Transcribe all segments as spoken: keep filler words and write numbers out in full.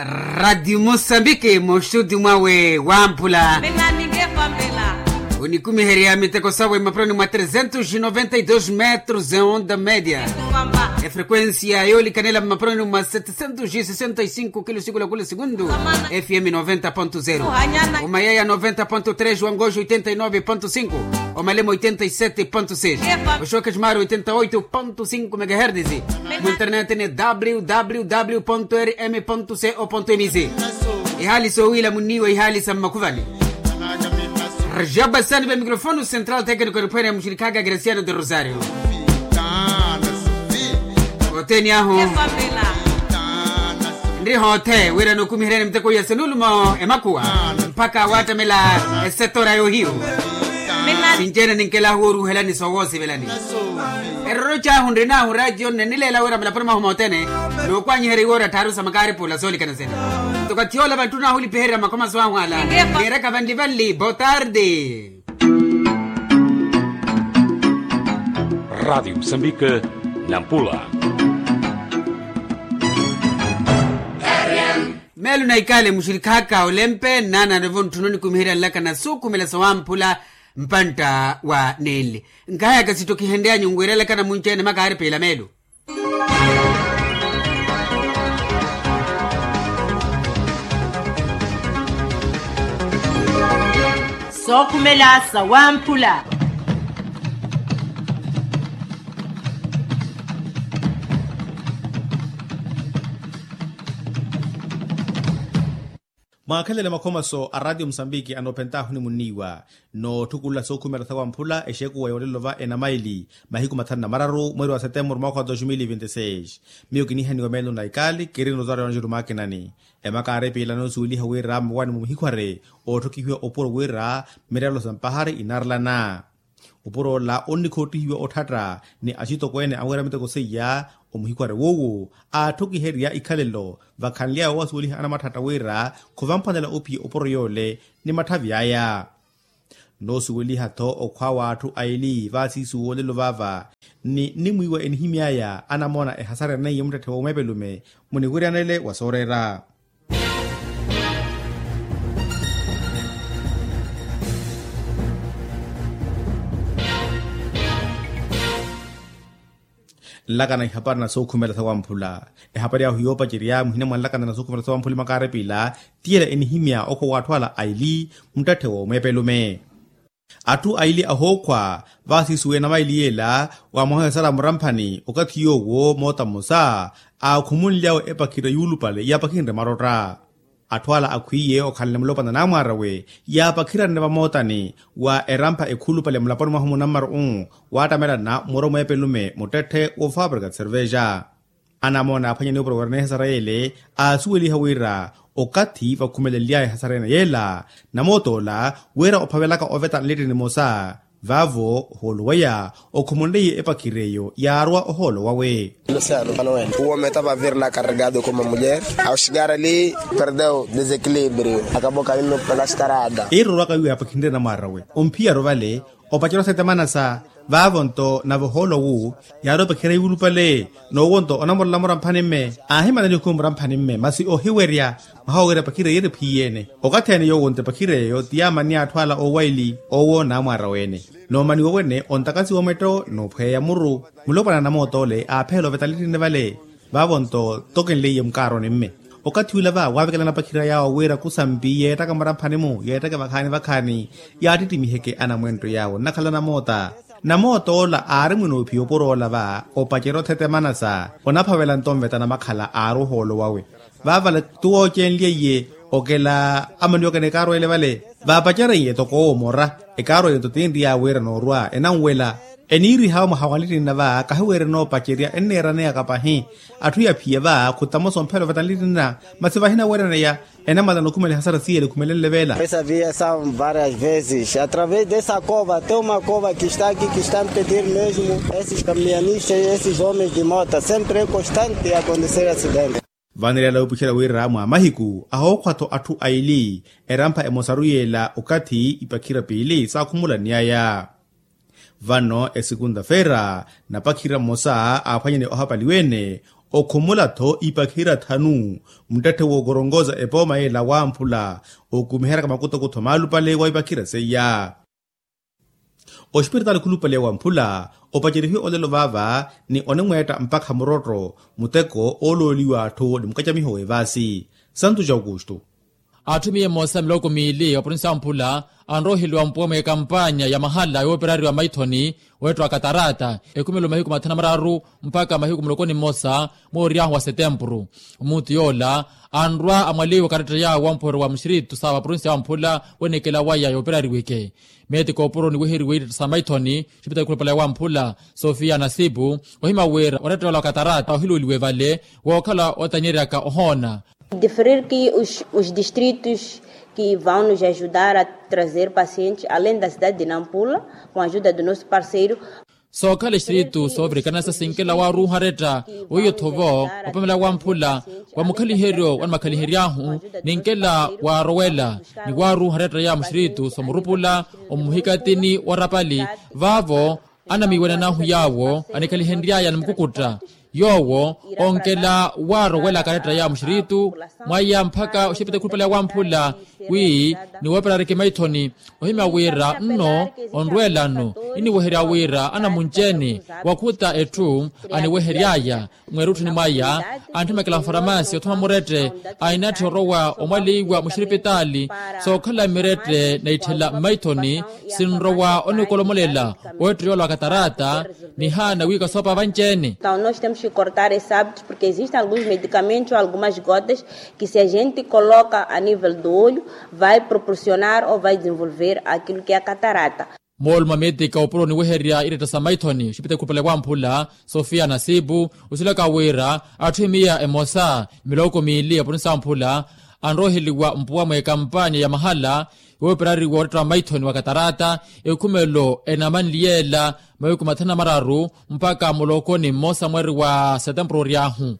Radiyo musambiki muxuti mwawe wamphula. Onikumiherya miteko sawe mapuroni mwa trezentos noventa y dos metros e onda media. Efrekuensia yoolikanela mapuroni mwa setecentos e sesenta y cinco kilo siku lakula segundu. Fm noventa ponto zero, omayaya noventa ponto tres, wangoxo oitenta y nove ponto cinco, omalemo oitenta y sete ponto seis, oxoke xumari oitenta y oito ponto cinco megahertisi. Mu internet ni www rm co mc. Ihaali soowiila munniiwa ihaali sa mmakhuvani. Rajaba sani va mikrofonu central tekniko eriphwene muxirikhaka kristiano de rosario. Othene ahu nri hoothe wira nookumiheryani miteko ya senulumo emakhuwa mpakha waattamela esetora yohiyu. Sinci-ene ninkelahu wooruuhelani soowoosivelani. Eroro cahu nrin'ahu raatiyo nnenileela wira mulaponi mwahu mothene nookwanyiherya iwoora tthaaru sa makaaripula soolikana sene. Nto okathi yoola vanttun'ahu olipiherya makhomaso ahu ala. Niiraka vanli vanli botarde. Radiyo musambike, nampula. Meelo na ikaale muxirikhaka olempe nnaananivo ntthuna onikumiherya nlakana suukhumela sawamphula. Mpantta wa nenle nkahayaka sittokihenryanyu nwiirelakana munci-ene makaari piila meelo. Sookhumela sawamphula. Mwaakhelele makhomaso a ratiyo musambiki anoophentaahu ni munniiwa nootthukulela sookhumela sawamphula exekuwa yoolelo va enamaili mahiku mathanu na mararu mweeri wa setemburu mwaakha wa dos mil vinti seis. Miyo kinihaniwa meelo na ikaali kiri notaryo anjelu maakinani. Emakaari piila noosuweliha wira mawani mu muhikhware ootthokihiwa opuro wira mirelo sa mpahari inaarelana. Opuro ola onnikhoottihiwa otthatta ni axitokweene awira miteko seiya. Omuhikhware woowo aatthokiherya ikhalelo vakhanly'aya oowasuweliha anamathatta wira khuvamphwanela ophiya opuro yoole ni matthavi aya. Noosuweliha-tho okhwa w'atthu aili vaasiisuwo olelo vaava ni nnimwiiwa enihimy'aya anamoona ehasareene iye muttetthe w'omeepelume muniwiryanele wa sooreera. Nlakana ihapari na sookhumela sawamphula. Ehapari ahu yoopacerya muhina mwa nlakana na sookhumela sawamphula emakaarepila tiyela enihimya okhwa w'atthu ala aili muttetthe w'omeepelume. Atthu aili ahookhwa vaasiisuwe enamaili yeela wa mwaha esara muramphani okathi yoowo moota mmosa aakhumunly'awe epakhira yuulupale yaapakhinre marotta. Atthu ala akhwiiye okhalanle mulopwana n'amwaar'awe yaapakhiranne vamootani wa erampha ekhulupale mulaponi mwahu munammaro-u waattamelana muro mweepelume muttetthe woofabrika cerveja. Anamoona aaphwanyani opuro wira n'ehasara yeele aasuweliha wira okathi vakhumelely'aya ehasara ene yeela namoot'ola wira ophavelaka oveta nlittini nimosa vaavo ohoolo waya okhumunleiye epakhir'eyo yaarwa ohoolo wawe. Uwo meta vavirna karregado como mulher ao chegar ali perdeu desequilibrio akaboka mimi pelastarada. Iirorwaka wiiwa yaapakhinre namwaar'awe omphiyaru vale opacerya osetemanasa. Vaavo-nto nave ohoolo wu yaari opakhira yuulupale n'owo-nto onamorola muramphani-mme aahimanani okhume muramphani-mme masi ohiwerya mwaha wowira epakhira yiiri phiyene. Okathi ene yoowo-nto epakhira eyo ti yaamanni atthu ala oowaili owo n'amwaar'awe-ene. Noomaniwa wene ontakasiwa omwetto n'ophweya muru mulopwana namoot'ole aapheela oveta nlittini vale. Vaavo-nto tokenleiye mukaaroni-mme okathi ula va waavekelana apakhira yaawo wira kusampi yeettaka muramphani-mu yeettake vakhaani vakhaani yaattittimihe-ke anamwentto yaawo nnakhala namoota. Namoot'ola aari mwinoophiya opuro ola va opacerya othetemanasa onaphavela-nto onveta namakhala aari ohoolo wawe. Vaavale tuwoocenlyeiye okela amaniwaka n'ekaarwa ele vale vaapacerye toko owo mora. Ekaarwa eyo-nto tinriy'awe wira noorwa enanwela eniirihawe mwaha wa nlittinna va kahiweerya enoopacerya enneeraneyaka pahi. Atthu yaphiya va khutamosa omphela oveta nlittinna masi vahinaweeraneya enamalana okhumela ehasara siyele ekhumelenle veela. Essa via são várias vezes através dessa cova tem uma cova que está aqui que está a impedir mesmo esses caminhonistas esses homens de mota sempre é constante acontecer acidente. Vanirela wuupuxela wira mwa mahiku ahookhwa-tho atthu aili erampha emosaru yeela okathi ipakhira piili saakhumulany'aya. Vano esekunta-feera napakhira mmosa aaphwanyane ohapaliwa-ene Okhumula-tho ipakhira thanu muttetthe wookoronkoza epooma yeela wamphula okumiheryaka makutokutho maalupale wa ipakhira seiya. Oxipiritaali khulupale wamphula opacerihiwe olelo vaava ni onimweetta mpakha murotto muteko oolooliwa atthu ni mukacamiho w'evaasi. Santu ja aukustu. Atthu miya emosa miloko miili wa provinsi ya mphula anroheliwa mpuwa mweekampanya ya mahala yooperariwa maithoni weettiwa katarata ekhumelo mahiku mathanu na mararu mpakha mahiku muloko ni mmosa mwa oryahu wa setempuru. Omuutu yoola anrwa amwaliwa karetta yaawo wa mpuweryo wa muxiritu sa wa provinsi ya mphula wenekela waya yooperariweke. Meeti koopuro niweheriwe ittetta sa maithoni xipitali khulupale wamphula sofia nasipu ohimya wira oretta yoola wa katarata ohiluuliwe vale wookhala otanyeryaka ohoona. Diferir ki os distritos ki vão nos ajudar a trazer pacientes alein da cidade de nampula, com ajuda do nosso parceiro. Sookhala exiritu soovirikana sa sinkela waaruuha aretta weiyo-tho vo opamela wamphula wa mukhaliheryo wa nimakhalihery'ahu ninkela waarowela ni waaruuha aretta ya muxiritu soomurupula omuhikatini wa rapali vaavo anamiiwananahu yaawo anikhalihenry'aya ni mukukutta yoowo onkela waarowela karetta ya muxiritu mwaya mpakha oxipitali khulupale wamphula wi niwooperariki maithoni ohimya wira nno onrweelano iniweherya wira anamunci-ene wakhuta etthu aniwehery'aya mweerutthuni mwaya antthimekela mfaramaasi othuma murette ainatthi orowa omwaleiwa muxiripitaali sookhala mirette na itthela mmaithoni sinrowa onikolomolela owetteyoola wa katarata nihaana wi kasoopa vanci-ene. Entaw nos temos ki cortar esse hábito porke existem alguns medicamentos ou algumas gotas ki se a gente coloca a nivel do olho vai proporcionar ou vai desenvolver aquilo ki a katarata. Moolumo a meetika opuro niweherya iretta sa maithoni oxipitali khulupale wamphula sofia nasipu osilaka wira atthu emiya emosa miloko miili ya provinsi ya mphula anroheliwa mpuwa mweekampanya ya mahala yooperariwa oretta wa maithoni wa katarata ekhumelo enamanli yeela mahiku mathanu na mararu mpakha muloko ni mmosa mweeri wa setempuru ory'ahu.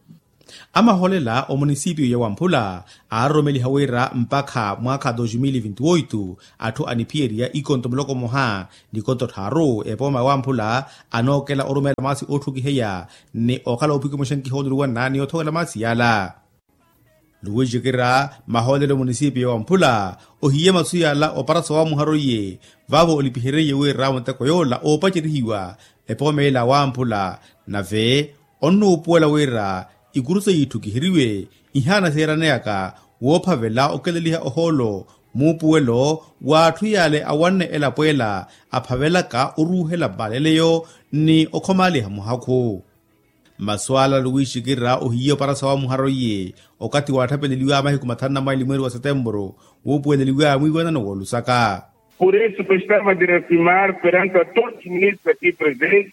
Amahoolela omunisipiyu ya wamphula aaroromeliha wira mpakha mwaakha dos mil vinti oito atthu aniphiyerya ikonto muloko mmoha n'ikonto tthaaru epooma ya wamphula anookela orumeela maasi ootthukiheya ni okhala oopwikimuxa nkihooluwanna ni othoowela maasi yaala. Luwixikira mahoolelo munisipiyu ya wamphula ohiye masu yaala opara soowamuhara oiye vaavo olipihereiye wira muteko yoola oopacerihiwa epooma yeela wamphula nave onnuupuwela wira ikuru seiya itthukiheriwe ihaana seeraneyaka woophavela okeleliha ohoolo muupuwelo w'atthu yaale awanne elapo ela aphavelaka oruuhela mmaleleyo ni okhomaaliha muhakhu. Masu ala luwiixikira ohiye opara soowamuhara oiye okathi waatthapeleliwaya mahiku mathanu na maili mweeri wa setempuru wuupuweleliwaya mwiiwanano w'olusaka. Por isso gostava de reafirmar perante a todos os ministros aqui presentes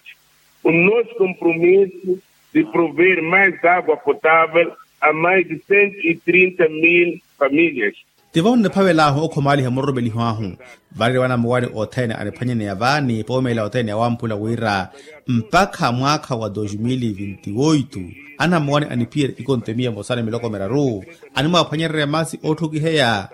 o nosso compromisso de prover mais água potável a mais de cento e trinta mil famílias. Tivo nniphavel'ahu okhomaaliha muroromeliho ahu. Varerya wanamuwani othene aniphwanyaneya vaani poomeela othene ya wamphula wira mpakha mwaakha wa dos mil vinti oito anamuwani aniphiyerya ikonto emiya emosa ni miloko miraru animwaaphwanyererya maasi ootthukiheya.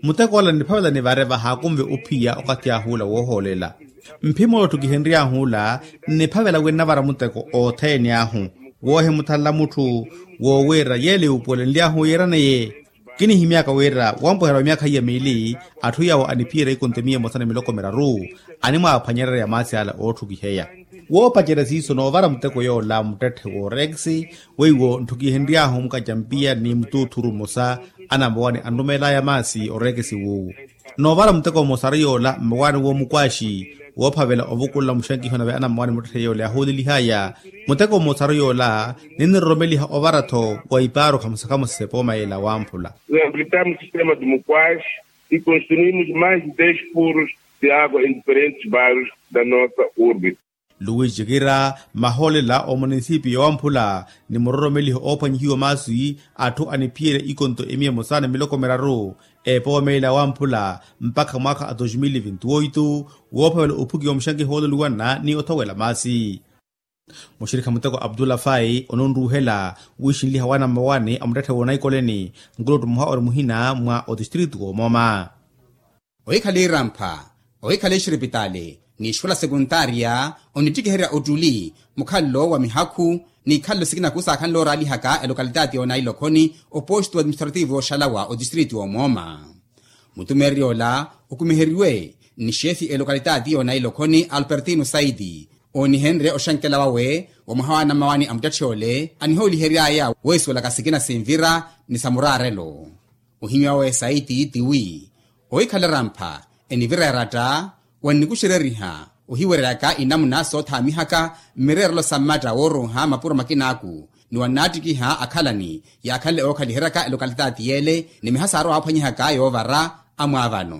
Muteko ola nniphavela nivare vahaakunve ophiya okathi ah'ula woohoolela mphimo ola otthukihenry'ahu ola nniphavela wi nnavara muteko othene ahu woohimuthanla mutthu woowiira yeela yuupuwelenly'ahu yiiraneye. Kinihimyaka wira wampuherya wa myaakha iya miili atthu yawo aniphiyerya ikonto emiya emosa ni miloko miraru animwaaphwanyererya maasi ala ootthukiheya. Woopacerya siiso noovara muteko yoola muttetthe w'oreekisi weiwo ntthukihenry'ahu mukacampiya ni mutuuthuru mmosa anamowani anrumeel'aya maasi oreekisi wuuwu. Noovara muteko mmosa ari yoola mmowaani w'omukwaaxi woophavela ovukulela muxankiho nave anammowaani muttetthe yoola yahuulelih'aya. Muteko mmosa ari yoola ninniroromeliha ovara-tho wa ipaaru khamosa khamosa s'epooma yeela wamphula. Reabilitamos sistema de mukwaaxi e construímos mais de dez furos de água em diferentes bairros da nossa urbe. Luwixikira mahoolela omunisipiyu ya wamphula ni muroromeliho oophwanyihiwa maasi atthu aniphiyerya ikonto emiya emosa ni miloko miraru epooma ila ya wamphula mpakha mwaakha a dos mil vinti oito woophavela ophukiwa muxankiho wooluliwanna ni othowela maasi. Muxirikha muteko abdullah fai ononruuhela wiixinliha waana mmawaani a muttetthe w'onaikoleni nkulottu mmoha ori muhina mwa otistritu w'omooma. Ohikhala irampha, ohikhala exiripitaali n'ixikola sekuntaariya onittikiherya ottuli mukhalelo wa mihakhu n'ikhalelo sikina khusaakhanle ooraalihaka elokalitati y'onailokhoni, oposto administrativo oxalawa otistriti w'omooma. Mutumeererya ola okumiheriwe ni xeefi elokalitati y'onailokhoni alpertino saiti, oonihenrye oxankela wawe wa mwaha wa anamawani a muttetthe ole anihoolihery'aya weesuwelaka sikina sinvira ni sa muraarelo. Ohimya wawe saiti tiwi ohikhala erampha enivira eratta, wannikuxereriha ohiwereryaka inamuna soothaamihaka mmireerelo sa mmatta wooruuha mapuro makinaaku, ni wannaattikiha akhalani yaakhanle ookhaliheryaka elokalitati y'ele ni miha saarowa waaphwanyihaka yoovara amwaavano.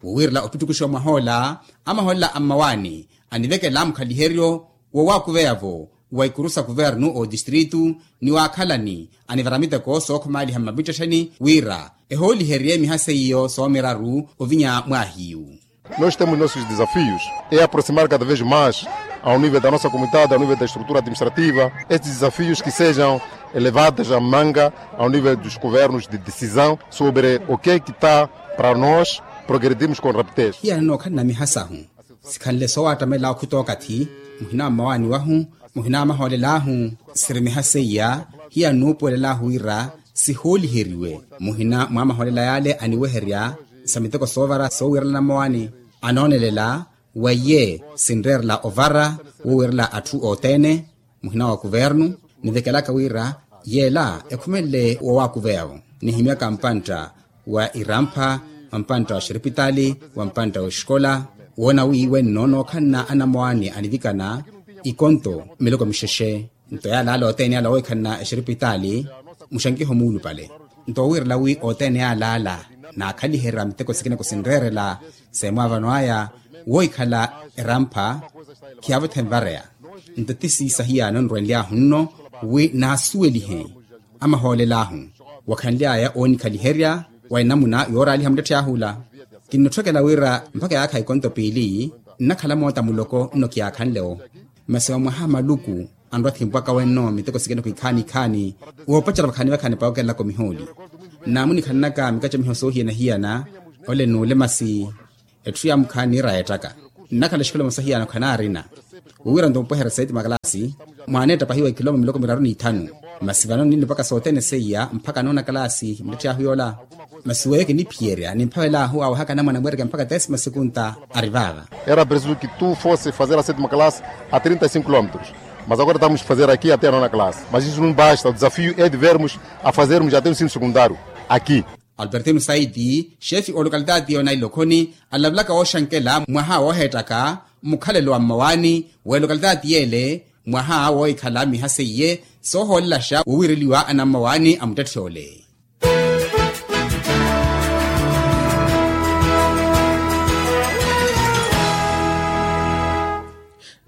Wowiirela opittukuxa omwah'ola, amahoolela a mmawaani anivekela mukhaliheryo woowakuveya-vo wa ikuru sa kuvernu otistritu ni waakhalani anivara miteko sookhumaaliha mmapittettheni wira ehooliherye miha seiyo soomiraru ovinya mwaahiyu. Nós temos nossos desafios, é aproximar cada vez mais ao nível da nossa comunidade, ao nível da estrutura administrativa, estes desafios que sejam elevados a manga ao nível dos governos de decisão sobre o que é que está para nós progredirmos com rapidez. Hiyana nookhalana miha sahu sikhanle soowattamela okhuta okathi, muhina wa mmawaani wahu, muhina wa mahoolel'ahu, siri miha seiya. Hiyana nuupuwelel'ahu wira sihooliheriwe muhina mwa mahoolela yaale aniweherya sa miteko soovara soowiirela anammawaani. Anoonelela weiye sinreerela ovara woowiirela atthu othene, muhina wa kuvernu nivekelaka wira yeela ekhumenle woowakuveya-vo. Nihimyaka mpantta wa irampha, wa mpantta wa xiripitaali, wa mpantta wa exikola, woona wi wenno nookhalana anamwaani anivikana ikonto miloko mixexe. Nto yaalaala othene yaala woohikhalana exiripitaali muxankiho muulupale. Nto wowiirela wi othene yaalaala naakhaliherya miteko sikina kusinreerela seemwaavano aya woohikhala erampha khiyaavothe nvareya. Nto ti siisa hiyano nrwenly'ahu nno wi naasuwelihe amahoolel'ahu wakhanly'aya oonikhaliherya wa enamuna yooraaliha muttetthe ahula. Kinnotthokela wira mpakha yaakha ikonto piili nnakhala moota muloko nno kiyaakhanle-wo. Masi wa mwaha maluku anrwa thimpwaka wenno miteko sikina khwikhaani ikhaani woopacerya vakhaani vakhaani pawukelelaka omihooli. Naamunikhananaka mikattamiho soohiyana-hiyana ole nuule masi etthu yaamukhaani niira yeettaka nnakhala exikola emosa hiyano khanaarina. Wowiira nto mupweherya saiti makalaasi mwaaneetta pahiwa ikiloma miloko miraru n'ithanu. Masi vano ninipaka sothene seiya mpakha noona kalaasi muttetthe ahu yoola. Masi weyo kiniphiyerya nimphavel'ahu aawehaka anamwaana mweerekeya mpakha tesima sekunta ari vaava. Era preciso que tu fosse fazer a sétima classe a trinta e cinco quilômetros, mas agora estamos a fazer aqui até a nona classe, mas isso não basta, o desafio é de vermos a fazermos até o ensino secundário aqui. Albertino saiti xeefi olokalitati y'onailokhoni alavelaka wooxankela mwaha wooheettaka mukhalelo wa mmawaani w'elokalitati y'ele mwaha woohikhala miha seiye soohoolelaxa wowiireliwa anammawaani a muttetthe ole.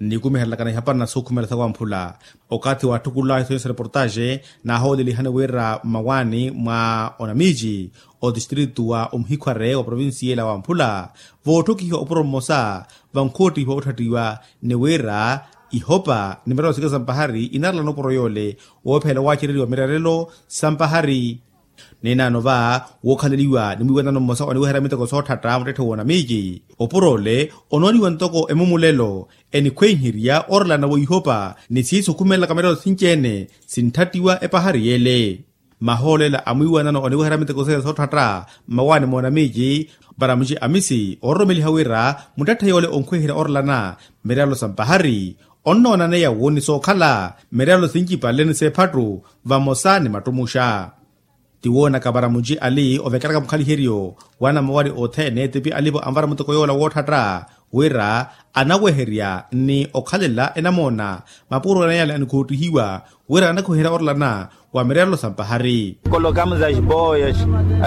Nnikumiherelakana ihapari na sukhumela sawamphula okathi waatthukula isonyi sa reportaxe naahoolelihani wira mmawaani mwa onamici otistritu wa omuhikhware wa provincia ela wamphula vootthokihiwa opuro mmosa vankhottihiwa otthattiwa ni wira ihopa ni mirelo sikina sa mpahari inarelana opuro yoole woophela waacereriwa mirerelo sa mpahari. Ninaano va wookhaleliwa ni mwiiwanano mmosa oniweherya miteko sootthatta muttetthe w'onamici opuro ole onooniwa ntoko emumulelo enikhwenherya orelana weihopa ni siisukhumelelaka mirelo sinci-ene sinthattiwa epahari y'ele. Mahoolela a mwiiwanano oniweherya miteko seiya sootthatta mmawaani moonamici baramuci amisi oororomeliha wira muttetthe yoole onkhwenherya orelana mirelo sa mpahari onnoonaneya wo ni sookhala mirelo sincipale ni seephattu vamosa ni mattumuxa. Tiwoonaka varamuci ali ovekelaka mukhaliheryo wa anamawari othene tipi alivo anvara muteko yoola wootthatta wira anaweherya ni okhalela enamoona mapuurowelana yale anikhoottihiwa wira anakhuherya orelana wa mirerelo sa mpahari. Colocamos as boias.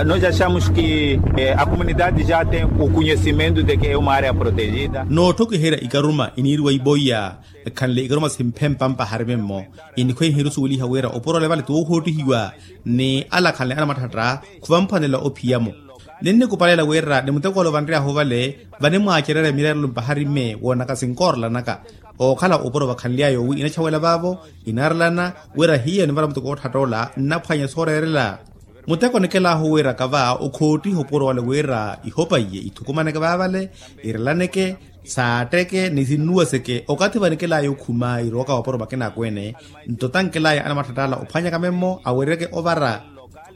Nós achamos que a comunidade já tem o conhecimento de que é uma área protegida. Nootthokiherya ikaruma iniiriwa iboiya ekhanle ikaruma simphempa mpahari mimmo inikhwenherya osuweliha wira opuro ole vale ti wookhoottihiwa ni ala akhanle anamathatta khuvamphwanela ophiya-mo. Ninnikupalela wira ni muteko ole ovanry'ahu vale vanimwaacererya mirerelo mpahari mme woonaka sinkoorelanaka ookhala opuro vakhanly'aya owi inatthawela vaavo inaarelana wira hiyo nivala muteko wootthatta ola nnaphwanya sooreerela. Muteko nikelaahu wiiraka va okhoottiha opuro wale wira ihopa iye ithukumaneke vaavale, irelaneke, saatteke ni sinnuwaseke okathi vanikelaya okhuma irowaka vapuro makina akweene. Nto tankelaya anamatthattala ophwanyaka memmo awereke ovara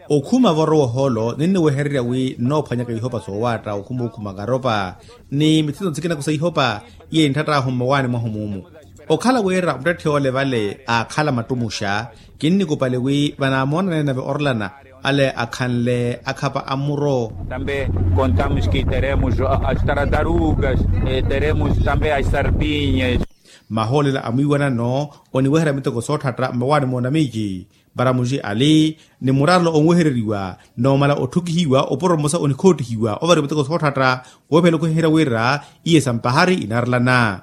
okhuma vorowa ohoolo ninniwehererya wi nnoophwanyaka ihopa soowaatta okhuma okhuma karopa ni mithito nsikinaku sa ihopa. Iye ntthatt'ahu mmawaani mwahu muumu okhala wira muttetthe ole vale aakhala mattumuxa. Kinnikupale wi vanaamoonanene nave orlana ale akhanle akhapa a mmuro. Tambe kontamos ki teremos as taratarugas teremos tambe as sardinyas. Mahoolela a mwiiwanano oniweherya miteko sootthatta mmawaani moonamici. Paramuxi ali ni muraarelo onwehereriwa noomala otthukihiwa opuro mmosa onikhoottihiwa ovariwa miteko sootthatta woophela okhuhiherya wira iye sampahari inaarelana.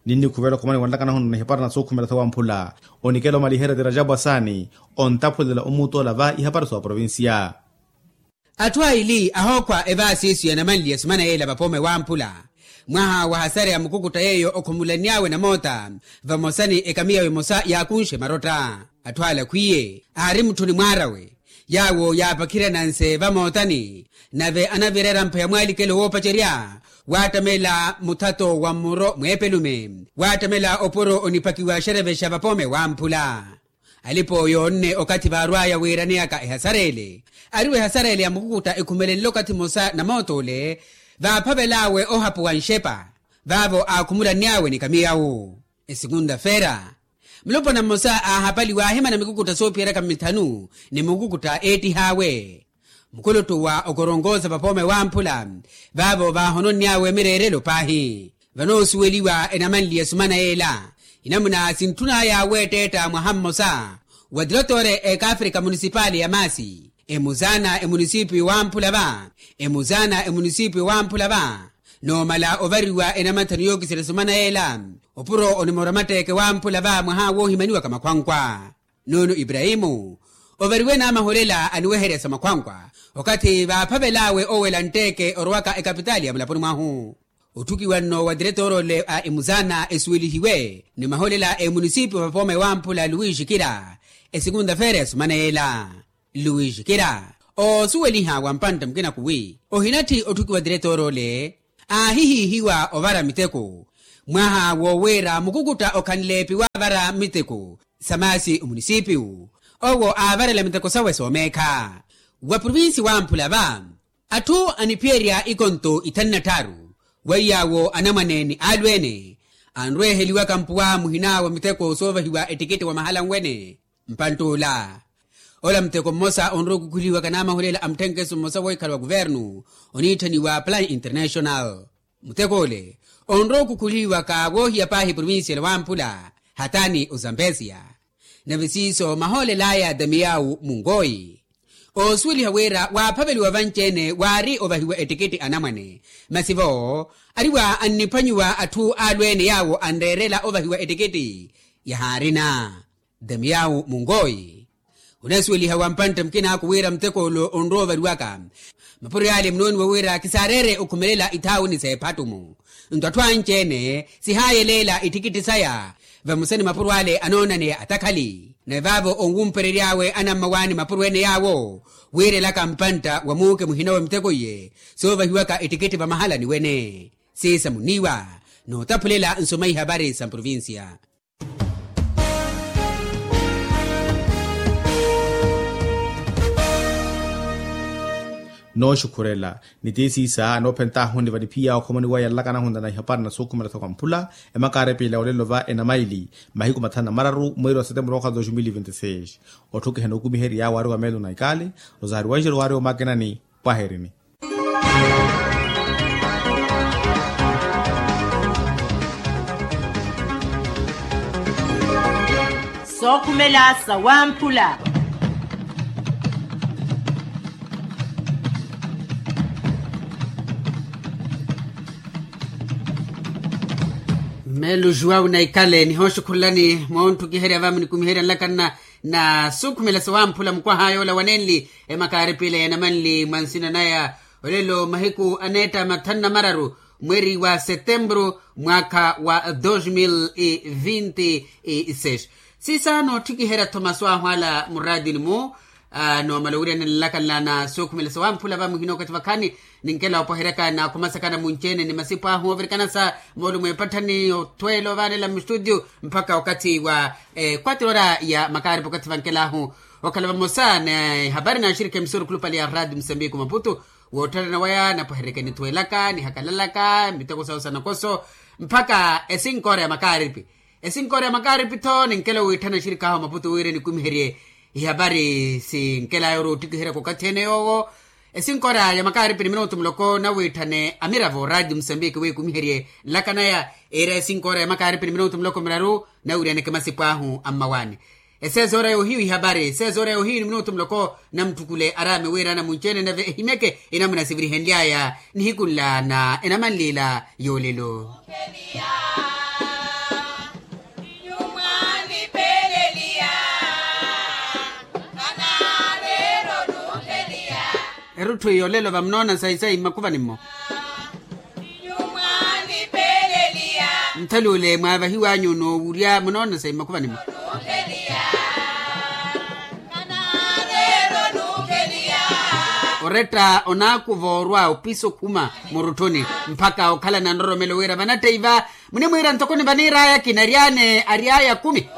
Ninnikhuvela okhumaniwa nlakanahu nna ihapari na sookhumela sawamphula onikela omaliherya tirajapu asaani ontaphulela omuutoola va ihapari sa oprovincia. Atthu aili ahookhwa evaasiisu ya namanli ya sumana yeela vapoome wamphula mwaha wa hasare ya mukukutta yeeyo okhumulanny'awe namoota vamosa ni ekamiya emosa yaakunxe marotta. Atthu ale akhwiye aari mutthuni mwaarawe yaawo yaapakhiryananse vamootani nave anavirera mpha ya mwaalikelo woopacerya waattamela muthato wa mmuro mweepelume waattamela opuro onipakiwa xerevexa vapoome wamphula. Alipo yoonne okathi vaarw'aya wiiraneyaka ehasarele ariwo ehasarele ya mukukutta ekhumelenle okathi mmosa namoot'ole vaaphavel'awe ohapuwa nxepa vaavo aakhumulanny'awe ni kamiyawu. Esekunta-feera mulopwana mmosa aahapaliwa aahimana mikukutta soophiyeryaka mmithanu ni mukukutta eettih'awe mukuluttuwa okoronkosa vapoome wamphula vaavo vaahononny'awe mireerelo paahi. Vanoosuweliwa enamanli ya sumana yeela inamuna sintthun'aya weetteetta mwaha mmosa wa tirotoore ekaafrika munisipali ya maasi emuzaana emunisipiyu wamphula va emuzaana emunisipiyu wamphula va noomala ovariwa enamathanu yookiserya sumana yeela opuro onimora matteeke wamphula va mwaha woohimaniwaka makhwankwa. Nuno iprahimu ovariwe naamahulela aniweherya sa makhwankwa okathi vaaphavel'awe owela ntteeke orowaka ekapitaali ya mulaponi mwahu. Otthukiwa nno wa tiretoroole a emuzaana esuwelihiwe ni mahulela a emunisipiyu vapoome wamphula luwixikira esekunta-feera ya sumana yeela. Luwixikira oosuweliha wa mpantte mukinaku wi ohinatthi otthukiwa tiretoroole aahihiihiwa ovara miteko mwaha woowiira mukukutta okhanleepi waavara miteko sa maasi omunisipiyu owo aavarela miteko sawe soomeekha wa provinsi wamphula va. Atthu aniphiyerya ikonto ithanu na tthaaru weiy'awo anamwane ni aalweene anrweeheliwaka mpuwa muhina wa miteko soovahiwa ettikitti wa mahala nwene. Mpantt'ula ola muteko mmosa onrowa okukhuliwaka n'amahulela a mutthenkeso mmosa woohikhala wa kuvernu oniitthaniwa plan international. Mutek'ule onrowa okukhuliwaka woohiya paahi provincia lwa wamphula hatani ozambesia. Nave siiso mahoolel'aya damiyawu munkoyi oosuweliha wira waaphaveliwa vanci-ene waari ovahiwa ettikitti anamwane masi-vo ariwa anniphwanyiwa atthu aalweene yaawo anreerela ovahiwa ettikitti yahaarina. Damiyawu munkoyi onasuweliha wa mpantte mukinaaku wira mutek'ule onrowa ovariwaka mapuro yaale munooniwa wira kisaareere okhumelela ithaawuni s'ephattu-mu. Nto atthu anci-ene sihaayeleela ittikitti saya vamosa ni mapuro ale anoonaneya atakhali nave vaavo onwumperery'awe anammawaani mapuro ene yaawo wiirelaka mpantta wa muuke muhina wa miteko iye soovahiwaka ettikitti vamahalani wene. Siisa muniiwa nootaphulela nsoma ihavari sa mprovincia. Nooxukhurela ni tiisiisa anoophent'ahu ni vaniphiya okhomoni waya nlakana ahunta na ihapari na sookhumela sa kwamphula emakaarepila olelo va enamaili mahiku mathanu na mararu mweeri wa setemburu mwaka wa dos mil vinti seis. Otthukihana okumiherya waari wa meelo na ikali rosario wanjiro waari omakinani. Pwaherini. Sookhumela sa wamphula. Mmeelo juwawu na ikale nihooxukhullani moonttukiherya va munikumiherya nlakanna na suukhumela sowamphula mukwaha yoola wanenli emakaaripila ya namanli mwa nsina naya. Olelo mahiku aneetta mathanu na mararu mweeri wa setempuru mwaakha wa dos mil vinti seis. Siisa noottikiherya-tho masu ahwaala muraatini-mu. Noomala owiryanela nlakanla na sookhumela sawamphula vamuhina okathi vakhaani. Ninkela opweheryaka na khumasakana munci-ene ni masipu ahu ovirikana sa moolumo epatthani othweela ovanela mustutio mpakha okathi wa ekwatira ora ya makaaripi okathi vankelahu. Okhala vamosa ni hapari na axirikhi emisuru khulupale ya radio musambiki maputu. Wootthana nawaya napweheryeke nithweelaka nihakalalaka miteko sawo sa nakoso mpakha esinkoora ya makaaripi. Esinkoora ya makaaripi-tho ninkela owiitthana axirikhi ahu maputu wira enikumiherye ihapari sinkelaya ori oottikiheryaka okathi ene yoowo. Esinkoora ya makaaripi ni minutu muloko nawiitthane amiravo radio musambiki wikumiherye nlaka naya. Iira esinkoora ya makaaripi ni minutu muloko miraru nawiryaneke masipu ahu ammawaani. Eseezoora yoohiyu ihapari eseezoora yoohiyu ni minutu muloko. Namutthukule araame wira anamunci-ene nave ehimyeke enamuna sivirihenly'aya nihiku nla na enamanlila yoolelo. Erutthu yoolelo vamunoona sayi sayi mmakhuvanimmo. Nthaluule mwaavahiw'anyu noowurya munoona sayi mmakhuvanimmo. Oretta onaakuva orwa opisa okhuma murutthuni mpakha okhala na nroromelo wira vanatteiva munimwiira ntoko nivaniir'aya kinary'ane ary'aya kumi.